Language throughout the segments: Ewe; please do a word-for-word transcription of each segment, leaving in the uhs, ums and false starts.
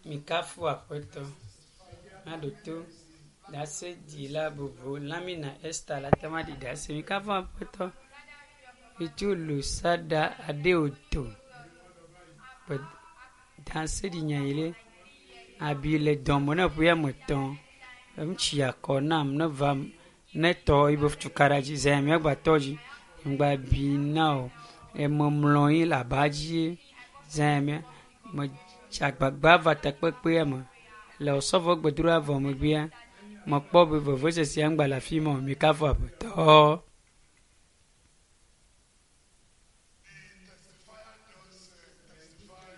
Mikafu aƒetɔ. Míaɖo to ɖaseɖila bubu Lamina Esther la te ŋu aɖi ɖase. Mikafu aƒetɔ. Mitso Lusada Adeoto. Ƒe ɖaseɖinya yi ɖe. Abi le dɔme ne ƒe ame etɔ̃. Eŋutsi akɔ nam ne vam ne tɔ yibe tukaɖa dzi zã míagba tɔ dzi. Ŋgba bi na o. Ememlɔ anyi le aba dzi zã mía me dze agbagba va takpekpea me. Le osɔfo gbedoɖa vɔ megbea mekpɔ be vevesesea ŋgba le afi ma o. Mikafu aƒetɔ.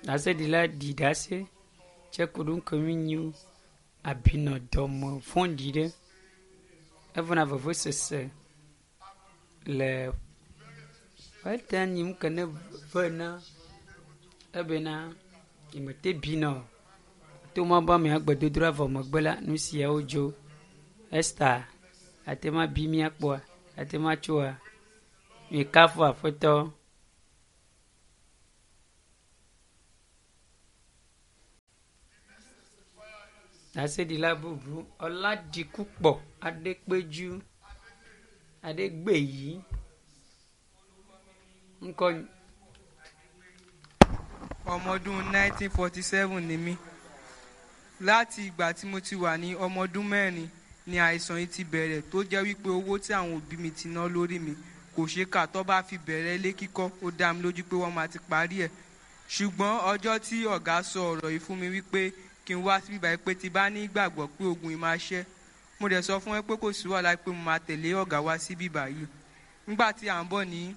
Ɖaseɖila ɖi ɖase tse ku ɖo ŋke mi nyi abi nɔ dɔme vɔ̃ɖi ɖe. Evana vevesese le eta nyi nu ke ne vena ebena nyemete bina o. To ma be amea gbedodoɖa vɔ megbe la nu siawo dzo. Esther ate ŋu abi míakpɔa? Ate ŋu atsoa? Mikafu aƒetɔ. Ɖaseɖila bubu Ɔladikukpɔ Aɖekpeju Aɖegbeyi ŋkɔ ọmọ ọdún nineteen forty seven ni mí láti ìgbà tí mo ti wà ní ọmọ ọdún mẹ́rin ni àìsàn yìí ti bẹ̀rẹ̀ tó jẹ́ wípé owó tí àwọn òbí mi ti ná lórí mi kò ṣeé kà tó bá fi bẹ̀rẹ̀ ilé kíkọ́ ó dá mi lójú pé wọ́n máa ti parí ẹ̀ ṣùgbọ́n ọjọ́ tí ọ̀gá sọ ọ̀rọ̀ yìí fún mi wípé kí n wá síbí báyìí pé tí bá ní ìgbàgbọ́ pé ogun yìí máa ṣẹ́ mo dẹ̀ sọ fún ẹ pé kò sí wàhálà pé mo máa tẹ̀lé ọ̀gá wá síbí báyìí nígbà tí à ń bọ̀ ní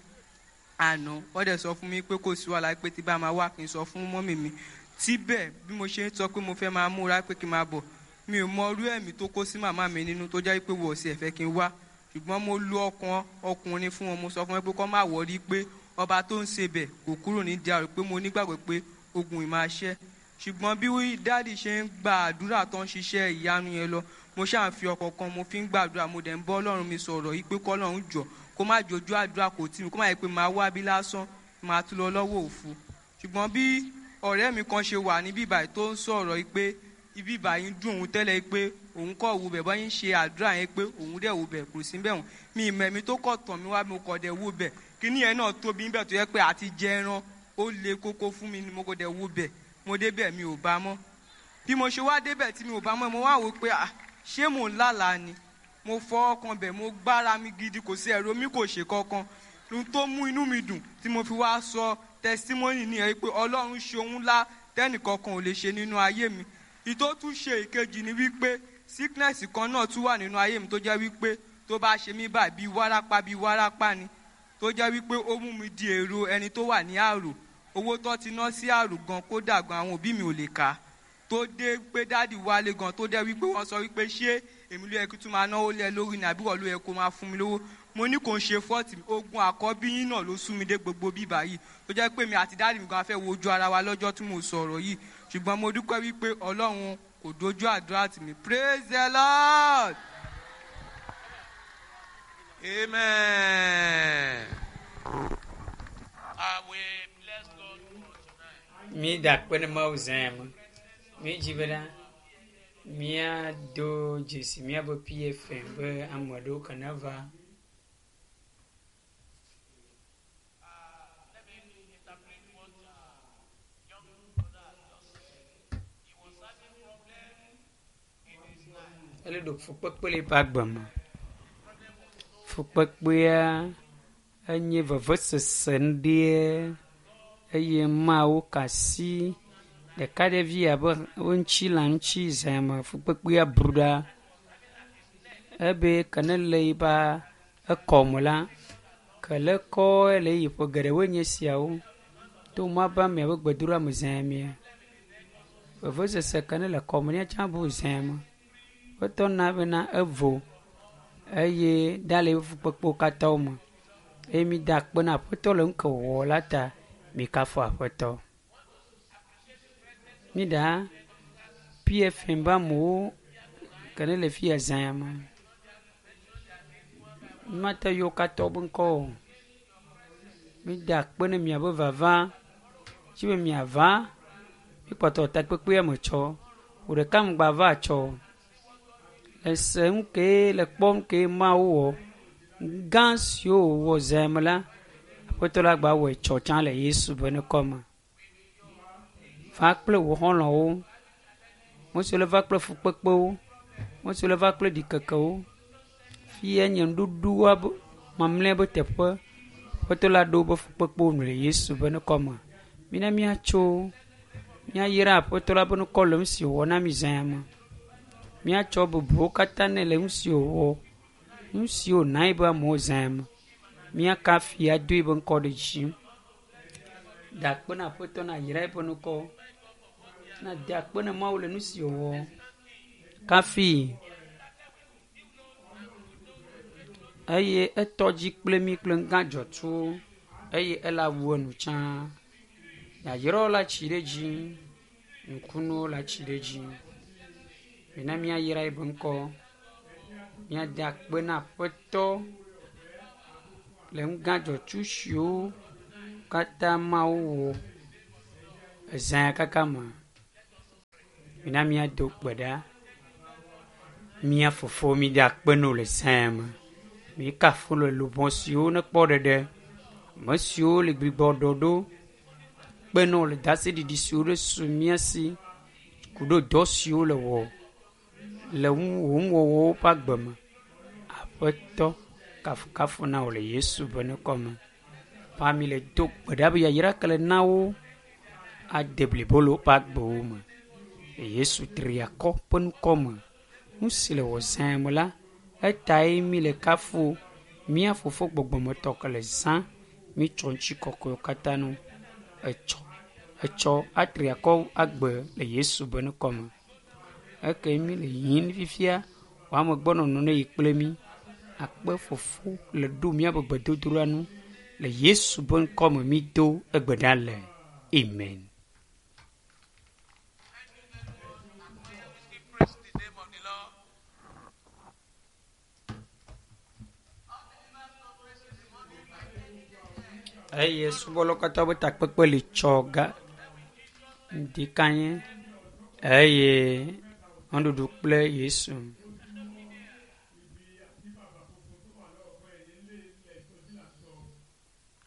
àná wọ́n dẹ̀ sọ fún mi pé kò sí wàhálà pé tí bá máa wá kí n sọ fún mọ́mì mi síbẹ̀ bí mo ṣe ń sọ pé mo fẹ́ máa múra pé kí n máa bọ̀ mi ò mọ irú ẹ̀mí tó kó sí màmá mi nínú tó jẹ́ pé wọ́n sì ẹ̀fẹ́ kí n wá ṣùgbọ́n mo lu ọkàn ọkùnrin fún wọn mo sọ fún wọn pé kọ́ má wọrí pé ọba tó ń ṣe bẹ̀ kò kúrò ní díàrú pé mo nígbàgbọ́ pé ogun yìí máa ṣẹ́ ṣùgbọ́n bí dáàdì ṣe ń gba àdúrà tó ń ṣiṣẹ́ ìyanu yẹn lọ mo ṣáà ń fi ọkọ̀ kan mo fi ń gbàdúrà mo dẹ̀ ń bọ́ ọlọ́run mi sọ̀rọ̀ yìí pé kọ́lọ́run jọ kó má jojú àdúrà kò tì mí kó má yẹ pé màá wá bí lásán màá tún lọ lọ́wọ́ òfu ṣùgbọ́n bí ọ̀rẹ́ mi kan ṣe wà ní bíbáyìí tó ń sọ̀rọ̀ yìí pé ibi ìbàyìí ń dùn òun tẹ́lẹ̀ yìí pé òun kọ̀ wo bẹ̀ bọ́yìn ṣe àdúrà yẹn pé òun dẹ̀ wo bẹ̀ kò sí bẹ̀ wọ́n mi ìmọ̀ ẹ̀mí tó kọ̀ tàn mí wá mo kọ̀ dẹ̀ wo bẹ̀ kíní yẹn náà tóbi níbẹ̀ tó yẹ pé àti jẹ ẹran ó le kókó fún mi ni mo kọ̀ dẹ̀ wo bẹ̀ mo débẹ̀ mi ò bá mọ́ bí mo ṣe wá débẹ̀ tí mi ò bá mọ́ mo wá wò pé ah ṣé mò ń lálàá ni mo fọ ọkàn bẹ̀ mo gbára mi gidi kò sí ẹ̀rọ mi kò ṣe kankan ohun tó mú inú mi dùn tí mo fi wá sọ testimony ní ẹ pé ọlọ́run ṣe ohun ńlá tẹ́nìkankan ò lè ṣe nínú ayé mi ìtó tún ṣe ìkejì ni wípé sickness kan náà tún wà nínú ayé mi tó jẹ́ wípé tó bá ṣe mí báyìí bíi wárápá bíi wárápá ni tó jẹ́ wípé ó mú mi di èrò ẹni tó wà ní àrò owó tó ti ná sí àrò gan kódà gan àwọn òbí mi ò lè kà á tó dé pé dáàdì wálé gan tó dé wípé wọ́n sọ wípé ṣé èmi ló yẹ kí tún máa náwó lé lórí ni àbí wọ́n ló yẹ kó máa fún mi lówó mo ní kò ń ṣe fọ́ọ̀tì ogun àkọ́bí yín náà ló sún mi dé gbogbo bíbá yìí tó jẹ́ pé mi àti dáàdì mi gan fẹ́ wojú ara wa lọ́jọ́ tí mo sọ̀rọ̀ yìí ṣùgbọ́n mo dúpẹ́ wípé ọlọ́run kò dojú àdúrà tì mí praise the lord. Amen. I will bless God for tonight. Mi da akpe ne Mawu zã ya me. Mi dzi bena míado dzesi míabe PFM be ame ɖewo ke ne va. Uh, let me interpret what uh, young brother just said. He was having problem in his life. Ele ɖo fukpekpe le eƒe agbe me. Fukpekpea enye vevesese ŋɖie eye Mawu ka asi ɖeka ɖevi abe wo ŋuti le ŋuti zã me fukpekpea bru ɖa. Ebe ke ne le yiba ekɔme la, ke le kɔ le yi ƒe geɖewoe nye esiawo. To ma be amea be gbedoɖa me zã mea, vevesese ke ne le kɔme nɛ tsã bu zã me. Wotɔ na bena evo eye ɖa le eƒe fukpekpewo katã me. Eye mi da akpe na aƒetɔ le nu ke wòwɔ la ta. Mikafu aƒetɔ. Mi ɖa PFM be amewo ke ne le fi ya zã ya me. Mate yɔ wo katã be ŋkɔ o. Mi da akpe ne miabe vava. Tsi be miava, Mikpɔtɔ takpekpea me tsɔ. Wò ɖeka ŋgba va tsɔ. Le se nu ke le kpɔm ke Mawu wɔ. Gã siwo wòwɔ zã me la, Aƒetɔ la gba wɔe tsɔ tsã le Yesu ƒe ŋkɔ me. Va kple wò xɔlɔ̃wo. Ame siwo le va kple fukpekpewo. Ame siwo le va kple ɖikekewo. Fia nye nuɖuɖua be mamlɛ be teƒe. Aƒetɔ la ɖo woƒe fukpekpewo nu le Yesu ƒe ŋkɔ me. Mina míatso míayra Aƒetɔ la ƒe ŋkɔ le nu si wòwɔ na mí zã ya me. Míatsɔ bubuwo katã nɛ le nu si wòwɔ, nu si wòna eƒe amewo zã ya me. Míakafi ado eƒe ŋkɔ ɖe dzi. Da akpe na Aƒetɔ na yra eƒe ŋkɔ. Na da akpe na Mawu le nu si wòwɔ. Kafi eye etɔ dzi kple mí kple ŋgã dzɔtsuwo eye ela wu enu tsã. Yayrawo la tsi ɖe dzi, nukunuwo la tsi ɖe dzi. Mina míayra eƒe ŋkɔ. Míada akpe na Aƒetɔ le ŋgã dzɔtsu siwo katã Mawu wɔ ezã ya kaka me. Mina míado gbe ɖa. Mía fofo mída akpe na wò le zã ya me. Míekafu le luʋɔ siwo nekpɔ ɖeɖe, ame siwo le gbigbɔ ɖɔ ɖo, kpe na wò le ɖaseɖiɖi siwo ɖe su mía si ku ɖe dɔ siwo le wɔ le wò nuwɔwɔwo ƒe agbe me. Aƒetɔ kafukafu na wò le Yesu ƒe ŋkɔ me. Pa mi le do gbe ɖa be yayra ke le na wo ade blibo le woƒe agbewo me. Le Yesu triakɔ ƒe ŋkɔ me. Nu si le wɔ zã me la, etae mi le kafu mía fofo gbɔgbɔmetɔ ke le zã mítsɔ ŋutikɔkɔewo katã nu etsɔ etsɔ atriakɔ agbe le Yesu ƒe ŋkɔ me. Eke mi le yiyim fifia, wò amegbɔnɔnɔ ne yi kple mí. Akpe fofo le ɖo míaƒe gbedodoɖa nu le Yesu ƒe ŋkɔ me mído egbe ɖa le. Amen. Praise the name of the Lord. Eye subɔlawo katã ƒe takpekpe li tsɔ ga ŋdi kanye eye nuɖuɖu kple Yesu.